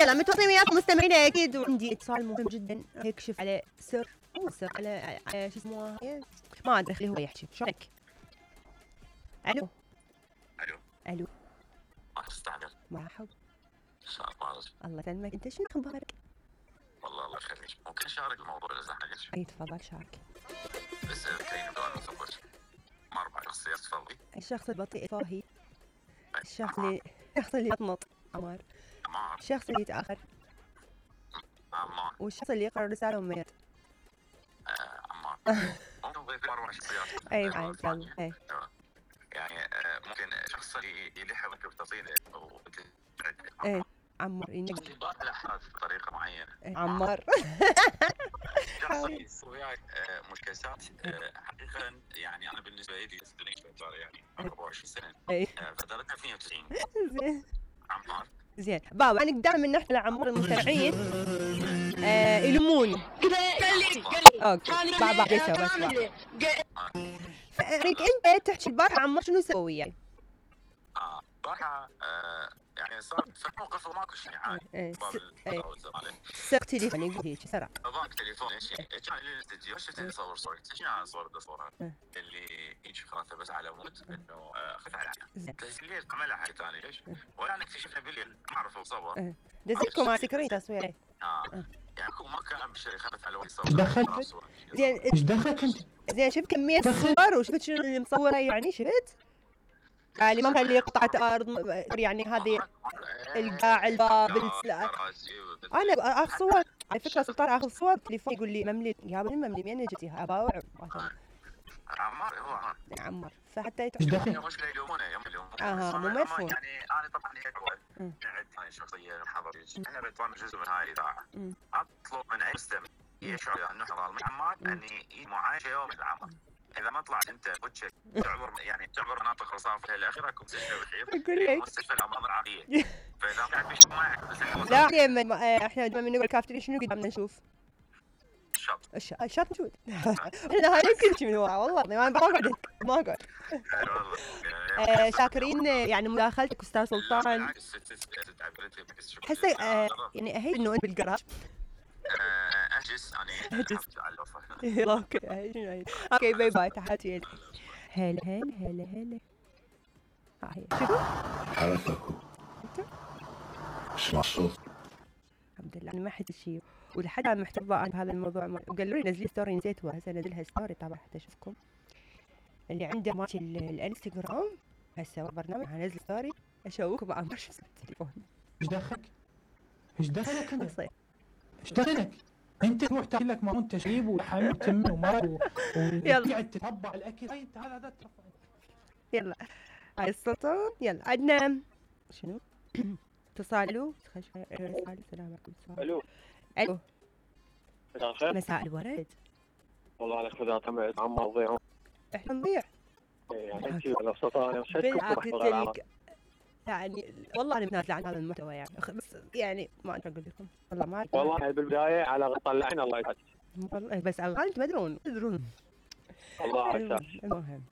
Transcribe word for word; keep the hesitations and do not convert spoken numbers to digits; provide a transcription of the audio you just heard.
يلا متواصلين وياكم مستمعينا اكيد، وعندي اتصال مهم جدا يكشف على سر مو سر على على شو اسمه ما ادري، خليه هو يحكي. شلونك؟ الو الو الو ما تستعجل. مرحبا. شو اخبارك؟ الله يسلمك، انت شنو اخبارك؟ والله الله يخليك، ممكن اشارك الموضوع اذا حقك؟ اي تفضل شارك. بس كاين نبدا نثبت ما اربع شخصيات تفضلي. الشخص البطيء فاهي، الشخص اللي الشخص اللي يطنط عمار، عمار الشخص اللي يتاخر، عمار والشخص اللي يقرا رساله وميت. آه عمار ممكن نضيف اربع شخصيات. اي بعد يلا اي يعني آه ممكن شخص اللي يلحقك بتصيده وانت اي عمار ينقل على حالك بطريقه معينه. إيه. عمار شخص يسوي وياك مشكسات حقيقه. يعني انا بالنسبه لي يعني اربعة وعشرين سنه اي فترتها اثنين وتسعين. زين عمار زين بابا، انا دائما نحكي لعمار المستمعين آه يلمون اوكي بابا بس بس فاريك انت تحكي البارحه عمار شنو سوي يعني؟ اه صراحه آه يعني صار في موقف وماكو شيء عادي. باب التواصل عليه سرق تليفوني يقول هيك سرق باباك تليفوني كان لي الاستديو شفت اللي صور صورة شنو انا صور بصورها اللي هيك خلاص بس على مود انه اخذ على تسجيل عملها حاجه ثانيه ليش؟ ولا انا اكتشفنا بالليل ما اعرف اصور دزيكم مع سكرين تصوير اه يعني هو ما كان بشري خذت على وجه صور. ايش دخلك؟ زين ايش دخلك انت؟ زين شفت كمية صور وشفت شنو اللي مصوره يعني شفت؟ يعني ما كان لي قطعة أرض يعني هذه القاع الباب أنا آخذ صور على فكرة سلطان آخذ صور تليفون يقول لي مملي يا بني مملي منين جتي أباوع عمار هو عمار عمار فحتى يتحكي مش يلومونه يلومونه اها مو مفهوم. يعني انا طبعا هيك قاعد ثاني شخصيه حضري احنا بنطلع جزء من هاي الاذاعه اطلب من اي مستمع يشعر انه حضر عمار اني معايشه يوم العمر اذا ما طلعت انت وجهك تعبر يعني تعبر مناطق رصافه الاخيره كنت تشتغل بخير مستشفى الامراض العقليه فاذا قاعد بيش معك لا احنا لما نقول كافتري شنو قدامنا نشوف؟ الشط الشط الشط موجود احنا هاي يمكن شي من ورا والله ما بقعد ما اقعد شاكرين يعني مداخلتك استاذ سلطان. حسيت يعني اهي انه انت بالجراج اجلس يعني اجلس اوكي اوكي باي باي تحياتي. هلا هلا هلا هلا هاي شوفوا حرككم اسمع الصوت. الحمد لله انا ما حد شيء ولحد الان محتفظه عن هذا الموضوع وقالوا لي نزلي ستوري نسيتها هسه انزلها ستوري طبعا حتى اشوفكم اللي عنده ماشي الانستغرام هسه برنامج هنزل ستوري اشوفكم مع مش التليفون. ايش دخلك؟ ايش دخلك انت؟ ايش دخلك؟ انت تروح تاكل لك ماون تشريب ولحم وتم ومرق وتقعد تتبع الاكل. هاي انت هذا هذا ترفع. يلا هاي السلطان. يلا عندنا شنو؟ اتصال. الو السلام عليكم. الو الو مساء الخير. مساء الورد. والله عليك خذها تمت عم نضيع. احنا نضيع يعني انت ولا سلطان بالعكس يعني والله انا متنازله عن هذا المحتوى يعني بس يعني ما ادري اقول لكم والله ما والله بالبدايه على غطى اللحن الله يسعدك والله بس انتم تدرون تدرون الله يسعدك. المهم